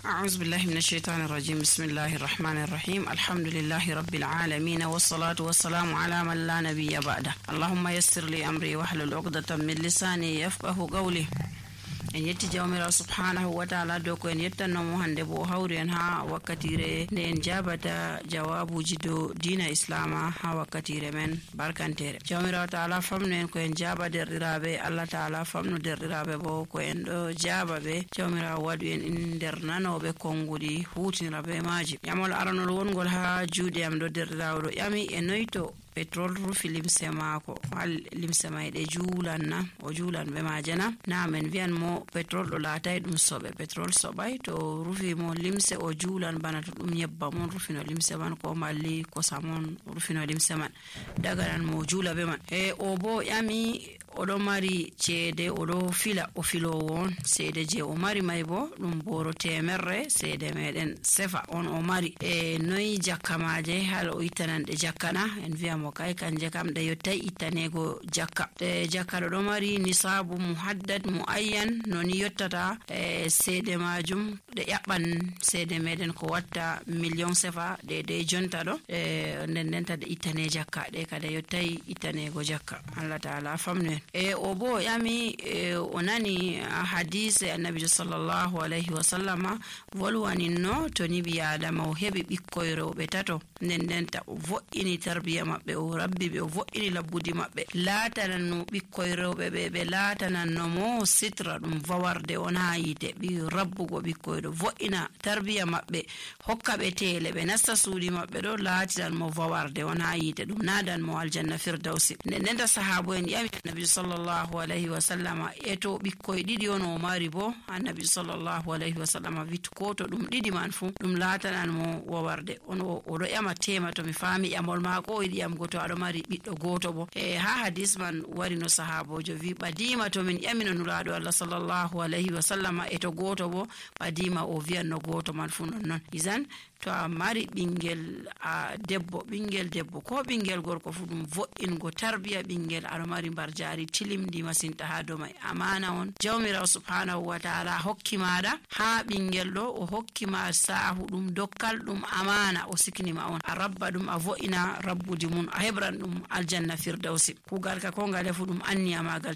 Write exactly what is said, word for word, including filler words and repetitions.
أعوذ بالله من الشيطان الرجيم. بسم الله الرحمن الرحيم. الحمد لله رب العالمين، والصلاة والسلام على من لا نبي بعده. اللهم يسر لي أمري واحلل عقدة من لساني يفقه قولي. En yetti Jawmiraawo subhaanahu wa taala dow ko en yettanno mo hannde, bo o hawri en haa wakkatiire nde en jaabata jawaabuuji dow diina Islaama haa wakkatiire men barkanteere. Jawmiraawo taala famnu en ko en jaaba derɗiraaɓe, Allah taala famnu derɗiraaɓe bo ko en ɗo jaaba ɓe. Jawmiraawo waɗu en in nder nanooɓe konnguɗi, huutinira bee maaji. Ƴamol aranol wongol haa juuɗe am ɗo, derɗiraawo ɗo ƴami e noy to petrol rufi limse maako. Hal limse may ɗe juulan na? O juulan ɓe maaje na? Naam, en wiyan mo petrol ɗo laatay ɗum soɓe. Petrol soɓay to rufi mo limse, o juulan bana to ɗum nyebbam on rufino limse man, ko malli kosam on rufino limse man. Daganan mo o juula be man. E o bo ƴami, o ɗo mari ceede, o ɗo fila, o filoowo on. Ceede je o mari may bo ɗum booro teemerre ceede meɗen sefa on o mari. E noyi jakka maaje, hal o ittanan ɗe jakka na? En wi'a mo kay, kanje kam ɗe yottay ittaneego jakka. Ɗe jakka ɗo ɗo mari nisaabu muhaddad muayyan, no ni yottata, e ceede maajum. Ɗe ƴaɓɓan seede meɗen ko watta miliyon sefa, ɗe, ɗe jonta ɗo, e, nden, nden ta ɗe ittane jakka, ɗe kadi yottay ittaneego jakka. Allah taala famnu en. E, o bo o ƴami, e, o nani hadise Annabiijo sallallahu alayhi wa sallama volwaninno, to ni ɓii Aadama o heɓi ɓikkoy rewɓe tato, nden, nden ta o vo'ini tarbiya maɓɓe, o rabbi ɓe, o vo'ini labbudi maɓɓe, laatanan no ɓikkoy rewɓe ɓe, ɓe laatananno mo sitra, ɗum vawarde on haa yiite, ɓi rabbugo ɓikkoy ɗo, vo'ina tarbiya maɓɓe, hokka ɓe teele, ɓe nasta suuɗi maɓɓe ɗo, laatinan mo vawarde on haa yiite, ɗum naadan mo aljanna firdawsi. Nden, nden ta sahaabo en ƴami Annabi sallallahu alayhi wa sallama, e to ɓikkoy ɗiɗi on o mari bo? Annabi sallallahu alayhi wa sallama wi, ko to ɗum ɗiɗi man fu, ɗum laatanan mo wawarde. On o, o ɗo ƴama teema, to mi faami ƴamol maako, o yiɗi ƴamgo to aɗo mari ɓiɗɗo gooto bo. E haa hadis man wari no sahaaboojo wi, ɓadiima to min ƴamino Nulaaɗo Allah sallallahu alayhi wa sallama e to gooto bo, ɓadiima o wi'anno gooto man fu non non. Izan, to a mari ɓinngel, a, debbo, ɓinngel debbo ko ɓinngel gorko fu, ɗum vo'ingo tarbiya ɓinngel, aɗo mari mbarjaari tilimndi masinta haa dow may. Amaana on Jawmiraawo subhaanahu wa taala hokki maaɗa, haa ɓinngel ɗo o hokki ma saahu ɗum, dokkal ɗum amaana, o sikni ma on. A rabba ɗum, a vo'ina rabbudi mum, a heɓran ɗum aljanna firdawsi. Kuugal ka ko ngale fu ɗum anniya maagal